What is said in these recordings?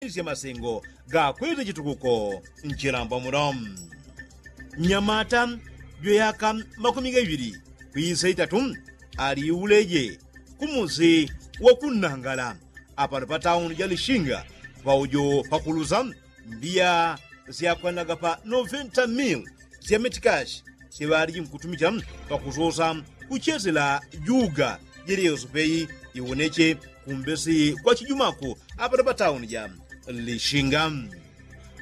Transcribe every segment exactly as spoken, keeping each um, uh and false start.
sya masengo gakwete chitukuko nchilamba muno. Nyamata jwe yaka makumi gaŵili kwisa itatu ali uleje kumusi wa kunnangala apano pa tauni ja lishinga paujo pakulusa mbiya syakwanaga pa noventa mil sya metikashi siŵaliji nkutumicha pakusosa kuchesela juga jeleyoso peyi iwoneche kumbesi kwa chijumaku apano pa tauni ja lishinga.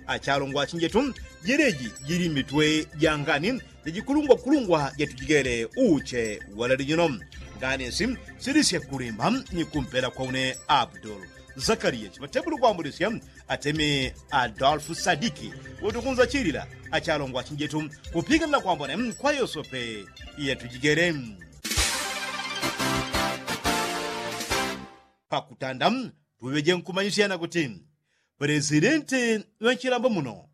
Achalongwa achinjetu jeleji jili mitwe jangani jajikulungwakulungwa jatujigele uche walali jino. Nganisi silisye kulimba ni kumpela kwa une abdul zakariya chimatebulu kwambulesya atemi adolfu sadiki wotukunza chilila achalongwa achinjetu kupiganila kwambone kwa yosope yatujigele. Pakutanda tuŵeje nkumanyisyana kuti pelesidenti ŵanchilambo muno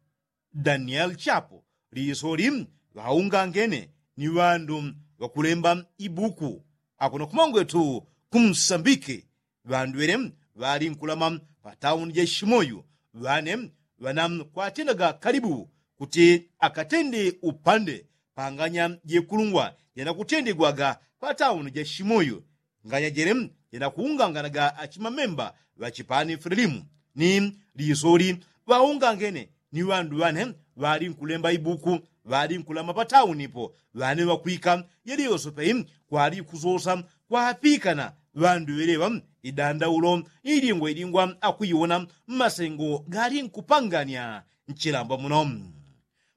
danieli chapu lisoli ŵaungangene ni ŵandu ŵakulemba ibuku akuno kumangwetu kumsambiki ŵandu ŵele ŵali nkulama patauni ja shimoyu ŵane ŵana kwatendaga kalibu kuti akatende upande panganya jekulungwa janakutendegwaga patauni ja shimoyu nganya jele janakuunganganaga achimamemba ŵachipani fililimu ni lisoli ŵaungangene ni ŵandu ŵane ŵali nkulemba ibuku ŵali nkulama pataunipo ŵane ŵakwika yeliyoso peyi kwali kusosa kwapikana ŵandu ŵeleŵa idandaulo ilingwa ilingwa akuiwona mmasengo gali nkupangania nchilamba muno.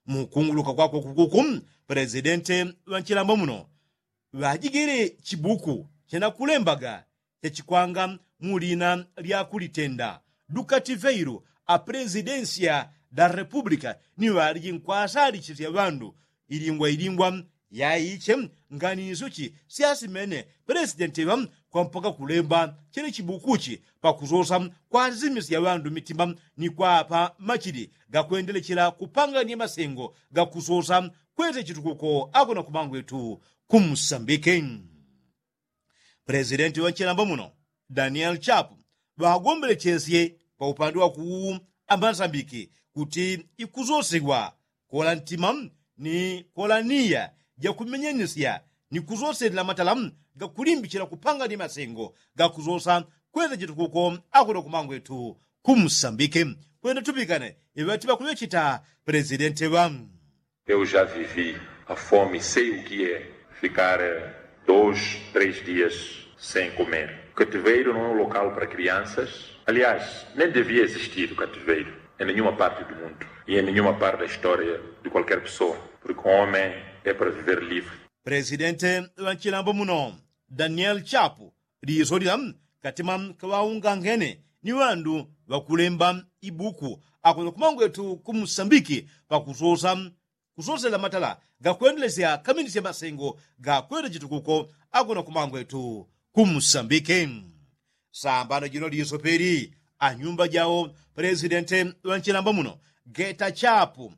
Mukunguluka kwakwe kukuku pelesidente ŵanchilamba muno ŵajigele chibuku chenakulembaga chechikwanga mulina lya kulitenda dukativeilu a pelesidensya da republika ni ŵaliji nkwasalichisya ŵandu ilingwa ilingwa yaiche nganiso chi syasimene pelesidenti ŵa kwampaka kulemba chele chibuku chi pakusosa kwasimisya ŵandu mitima ni kwapa machili gakwendelechela kupangania masengo gakusosa kwete chitukuko akuno kumangwetu kumsambike. Pelesidenti ŵa nchilamba muno danieli chapu ŵagombelechesye pa upande wakuwu amasambiki kuti ikusosegwa kola ntima ni kola niya jakumenyenisya ni kusoselela matala gakulimbichila kupangania masengo gakusosa kwete chitukuko akuno kumangwetu kumsambike. Kwenda tupikane iŵati ŵakuŵechita pelesidenti ŵa Eu já vivi a fome, sei o que é ficar dois, três dias sem comer. O cativeiro não é um local para crianças. Aliás, nem devia existir o cativeiro em nenhuma parte do mundo e em nenhuma parte da história de qualquer pessoa, porque o homem é para viver livre. Pelesidente ŵa nchilambo muno danieli chapu liso lila katima kaŵaungangene ni ŵandu ŵakulemba ibuku akuno kumangwetu kumsambiki pakusosa kusosela matala gakwendelesya kaminisya masengo gakwete chitukuko akuno kumangwetu kumsambiki. Sambano jino liso peli anyumba jawo pelesidente ŵa nchilamba muno geta chapu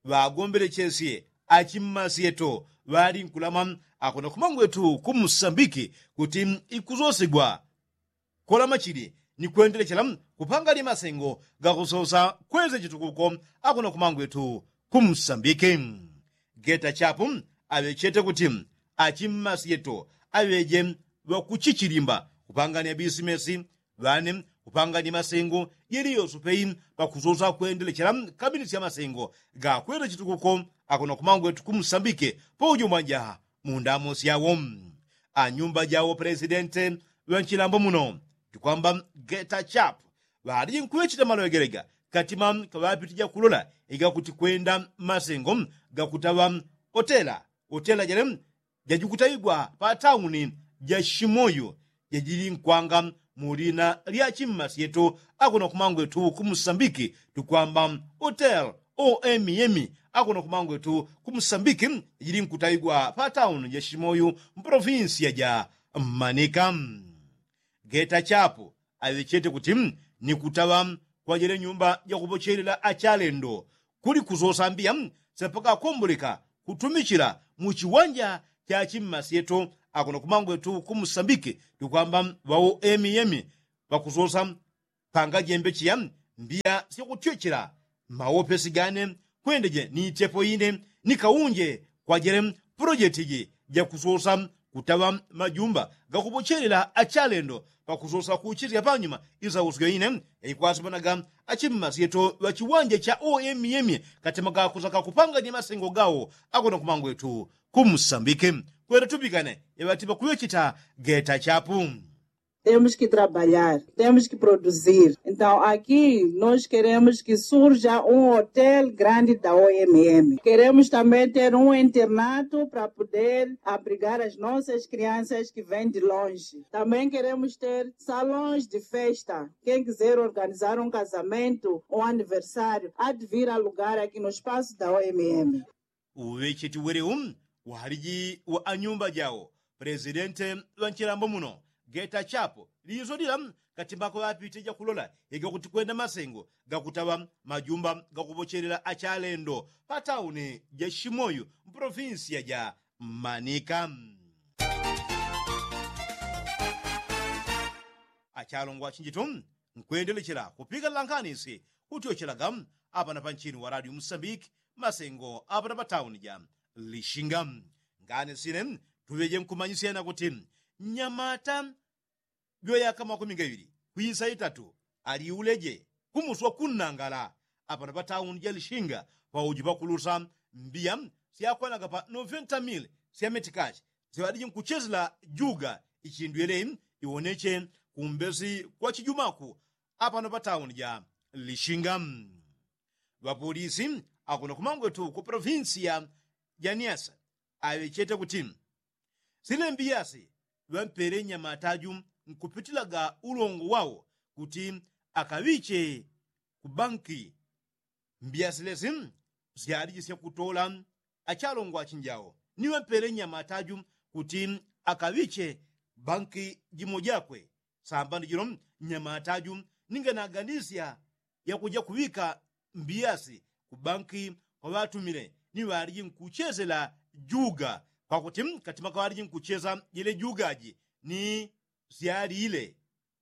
ŵagombelechesye achimmasyeto ŵali nkulama akuno kumangwetu kumsambiki kuti ikusosegwa kola machili ni kwendelechela kupangania masengo gakusosa kwete chitukuko akuno kumangwetu kumsambiki. Geta chapu aŵechete kuti achimmasyeto aŵeje ŵakuchichilimba kupangania bisimesi ŵane kupangania masengo yeliyoso peyi pakusosa kwendelechela kaminisya masengo gakwete chitukuko akuno kumangwetu kumsambiki paujo mwaja mundamo syawo anyumba jawo pelesidente ŵa nchilambo muno tikwamba geta chapu ŵaliji nkuŵechita maloŵegelega katima kaŵapitija kulola igakuti kwenda masengo gakutaŵa otela otela jele jajikutawigwa pa tauni ja shimoyu jajili nkwanga mu lina lya chimmasyeto akuno kumangwetu kumsambiki tukwamba hotel omm akuno kumangwetu kumsambiki jajili nkutawigwa pa tauni ja shimoyu mpolofinsiya ja manika. Geta chapu aŵechete kuti ni kutaŵa kwajele nyumba jakupochelela achalendo kuli kusosa mbiya sepakakomboleka kutumichila mu chiwanja cha chimmasyeto akuno kumangwetu kumsambiki tukwamba ŵawo emiyemi ŵakusosa panga jembe chiya mbiya syakutyochela mawopesi gane kwendeje ni itepo ine ni kaunje kwajele pulojeti ji jakusosa kutaŵa majumba gakupochelela achalendo pakusosa kuchisya panyuma isausyo ine yaikwasipanaga achimmasyeto ŵachiwanja cha omm katema gakusa kakupanganya masengo gawo akona kumangwetu kumusambike kwenda tupikane yaŵatipa kuŵechita geta chapu. Temos que trabalhar, temos que produzir. Então aqui nós queremos que surja um hotel grande da omm. Queremos também ter um internato para poder abrigar as nossas crianças que vêm de longe. Também queremos ter salões de festa. Quem quiser organizar um casamento ou aniversário há de vir alugar aqui no espaço da omm. Uŵecheti welewu waliji wa anyumba jawo pulesidente ŵanchilambo muno geta chapu liso lila katimako ŵapite jakulola yega kuti kwenda masengo gakutaŵa majumba gakupochelela achalendo patauni ja shimoyu mpolofinsiya ja manika. Achalongwa chinjitu nkwendelechela kupikala nkhani si kutyochelaga apana panchini wa radio musambiki masengo apana patauni ja lishinga. Ngani sine tuŵeje nkumanyisyana kuti nyamata jweyaka makumi gaŵili kwisa itatu aliuleje kumuswa kunnangala apana patauni ja lishinga pauji pakulusa mbiya syakwanaga pa noventa mili sya metikashi syaŵaliji nkuchesela juga ichindu yele iwoneche kumbesi kwa chijumaku apano patauni ja lishinga. Ŵapolisi akuno kumangwetu ku polofinsiya ja niasa aŵechete kuti sile mbiyasi ŵampele nyamataju nkupitilaga ulongo wawo kuti akaŵiche ku banki. Mbiya silesi syaliji syakutola achalongwa achinjawo ni ŵampele nyamataju kuti akaŵiche banki jimo jakwe sambano jilo nyamataju ninga naganisya yakuja kuŵika mbiyasi ku banki kwa ŵatumile ni ŵaliji nkuchesela juga kwakuti katima kaŵaliji nkuchesa jele jugaji ni syalile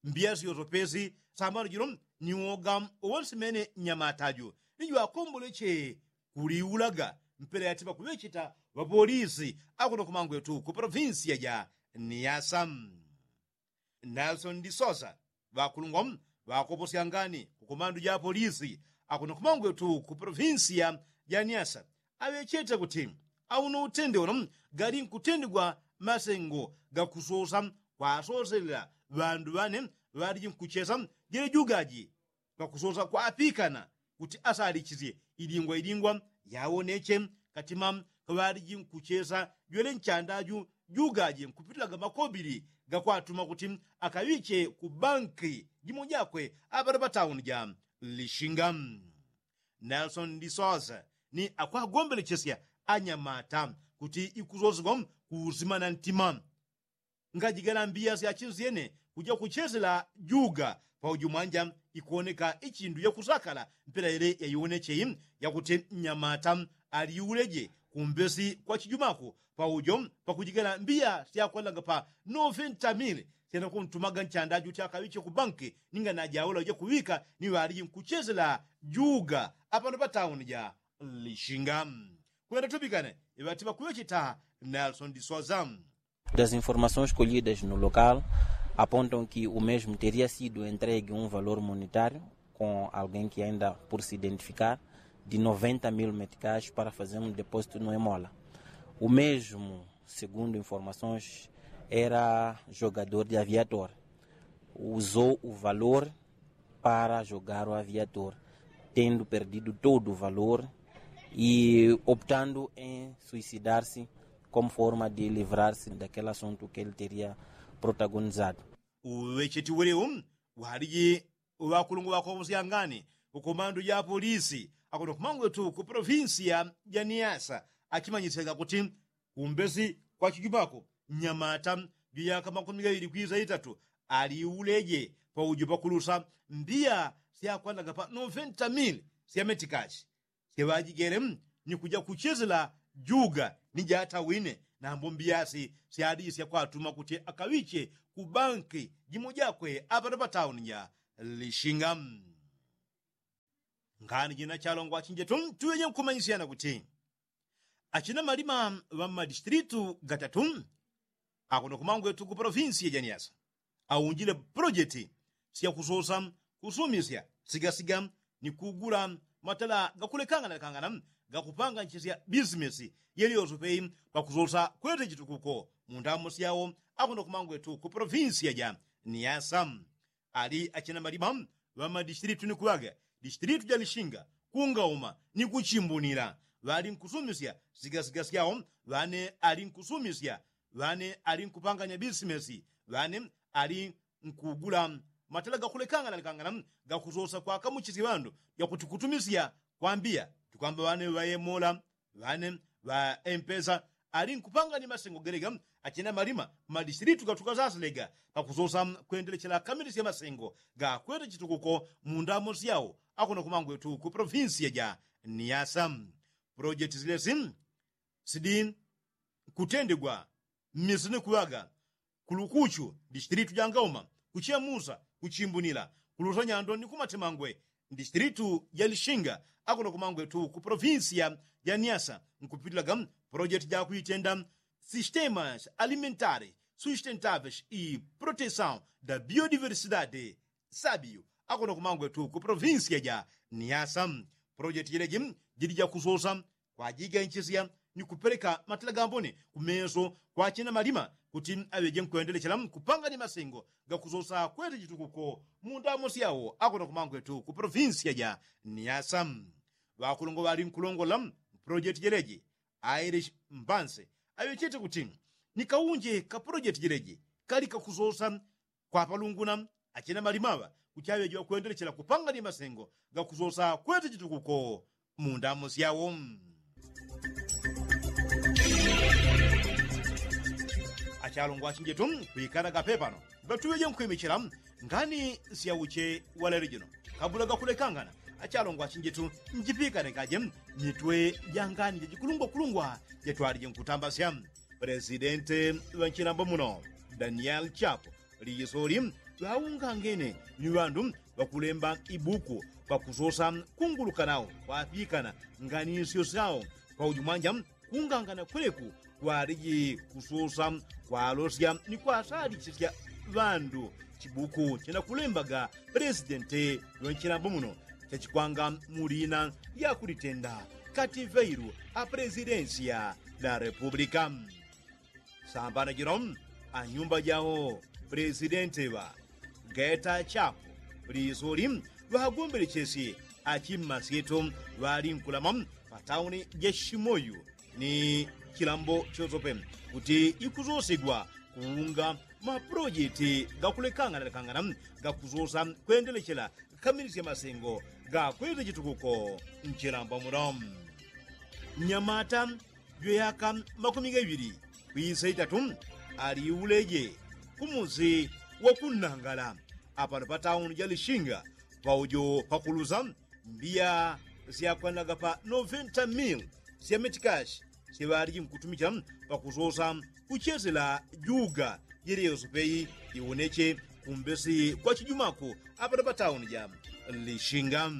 mbiya syosopesi sambano jilo ni woga uwonsimene nyamataju ni jwakomboleche kuliulaga mpela yatipa kuŵecheta ŵapolisi akuno kumangwetu ku polofinsiya ja niasa. Nelsoni disosa ŵakulungwa ŵakoposyangani ku komandu ja polisi akuno kumangwetu ku polofinsiya ja niasa aŵechete kuti auno utende uno gali nkutendigwa masengo gakusosa kwasoselela ŵandu ŵane ŵaliji nkuchesa jele jugaji pakusosa kwapikana kuti asalichisye ilingwa ilingwa yawoneche katima kaŵaliji nkuchesa jwele nchandaju jugaje nkupitilaga makobili gakwatuma kuti akaŵiche ku banki jimo jakwe apano patauni ja lishinga. Nelsoni disosa ni akwagombelechesya anyamata kuti ikusosegwa kuusimana ntima ngajigala mbiya syachinsyene kuja kuchesela juga pauju mwanja ikuwoneka ichindu yakusakala mpela yele yaiwonecheyi yakuti nyamata aliuleje kumbesi kwa chijumaku paujo pakujigala mbiya syakwalanga pa noventa mili syanakuntumaga nchandaju ti akaŵiche ku banki ninga najaula uja kuŵika ni ŵaliji nkuchesela juga apano patauni ja lishinga. Kwenda tupikane iŵatipa kuŵecheta nelsoni disosa. Das informações colhidas no local apontam que o mesmo teria sido entregue um valor monetário com alguém que ainda por se identificar de noventa mil meticais para fazer um depósito no emola. O mesmo, segundo informações, era jogador de aviator. Usou o valor para jogar o aviator, tendo perdido todo o valor e optando em suicidar-se como forma de livrar-se daquele assunto que ele teria protagonizado. Uŵecheti welewu waliji ŵakulungwa ŵakoposyangani ku komandu ja polisi akuno kumangwetu ku polofinsiya ja niasa achimanyisyaga kuti kumbesi kwa chijumaku nyamata juyaka makumi gaŵili kwisa itatu aliuleje paujo pakulusa mbiya syakwanaga pa noventa mili sya metikashi syaŵajigele ni kuja kuchesela juga ni jatawine nambo mbiyasi syaliji syakwatuma kuti akaŵiche ku banki jimo jakwe apano patauni ja lishinga. Kani jina chalongwa chinjetu tuŵeje nkumanyisyana kuti achina malima ŵa mmadistilitu gatatu akuno kumangwetu ku polofinsi ya janiasa aunjile pulojeti syakusosa kusumisya sigasiga ni kugula matala gakulekangana lekangana gakupanganchisya bisimesi yeliyoso peyi pakusosa kwete chitukuko mu ndamo syawo akuno kumangwetu ku polofinsi ya janiasa. Ali achina malima ŵa madistilitu ni kuŵaga distilitu ja lishinga kungauma ni kuchimbunila ŵali nkusumisya sigasiga syawo ŵane ali nkusumisya ŵane ali nkupanganya bisimesi ŵane ali nkugula matala gakulekangana lekangana gakusosa kwakamuchisya ŵandu jakuti kutumisya kwambiya tukwamba ŵane ŵayemola ŵane ŵa empesa ali nkupangani masengo gelega achina malima madistilitu gatuka sasilega pakusosa kwendelechela kamilisya masengo gakwete chitukuko mu ndamo syawo akuno kumangwetu ku polofinsi ya janiasa. Pulojeti silesi sidi kutendegwa mmisini kuŵaga kulukuchu distilitu ja ngauma kuchemusa kuchimbunila kulusa nyando ni kumatemangwe distilitu ja lishinga akuno kumangwetu ku polofinsi ya janiasa nkupitilaga pulojeti jakuitenda sistemas alimentari sustentavis i protesaw da biodiversidade sabiyu akuno kumangwetu ku polofinsi ya janiasa. Pulojeti jeleji jili jakusosa kwajiganchisya ni kupeleka matila gambone kumeso kwa achina malima kuti aŵeje nkwendelechela kupangani masengo gakusosa kwete chitukuko mu ndamo syawo akuno kumangwetu ku polofinsi ya janiasa. Ŵakulongwa ŵali nkulongolola pulojeti jeleji aili mbanse aŵechete kuti ni kaunje ka pulojeti jeleji kali kakusosa kwapalunguna achina malimaŵa kuchaŵejiwa kwendelechela kupangani masengo gakusosa kwete chitukuko mu ndamo syawo. Achalongwa achinjetu kwikalaga pepano ŵatuŵeje nkwimichila ngani syauche walelo jino kabula gakulekangana achalongwa achinjetu njipikanekaje mitwe jangani jajikulungwakulungwa jatwalije nkutambasya. Pelesidente ŵa nchilambo muno daniel chapo lisoli ŵaungangene ni ŵandu ŵakulemba ibuku pakusosa kunguluka nawo kwapikana nganisyo syawo paujumwanja kungangana kweleku kwaliji kusosa kwalosya ni kwasalichisya ŵandu chibuku chinakulembaga pelesidente ŵa nchilambo muno chachikwanga mu lina lya kulitenda kativeilu a pelezidensiya la repupulika. Sambana jino anyumba jawo pelesidente ŵa geta chapo lisoli ŵagombelechesye achimmasyeto ŵali nkulama pa tauni ja shimoyu ni chilambo chosope kuti ikusosegwa kuunga mapulojeti gakulekangana lekangana gakusosa kwendelechela kamilisya masengo gakwete chitukuko nchilambo muno. Nyamata jwe yaka makumi gaŵili kwisa itatu aliuleje kumusi wakunnangala apano pa tauni ja lishinga paujo pakulusa mbiya syakwanaga pa noventa mil sya metikashi syeŵaliji nkutumichila pakusosa kuchesela juga jeleyoso peyi iwoneche kumbesi kwa chijumako apano pa tauni ja lishinga.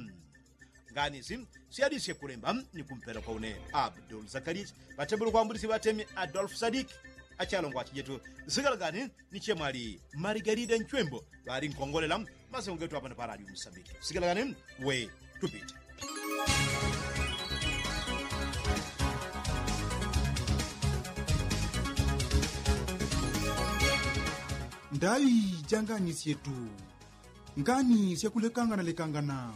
Nganisi syalisye kulemba ni kumpela kwa une abdul zakarichi patebulo kwambulisye ŵatemi adolfu sadiki achalongwa achijetu zigalagani ni chemwali marigarida nchwembo ŵali nkongolela masengo getu apano pa radio musambiki sigalagani we tupite. Ndaŵi janganisyetu ngani syakulekangana lekangana.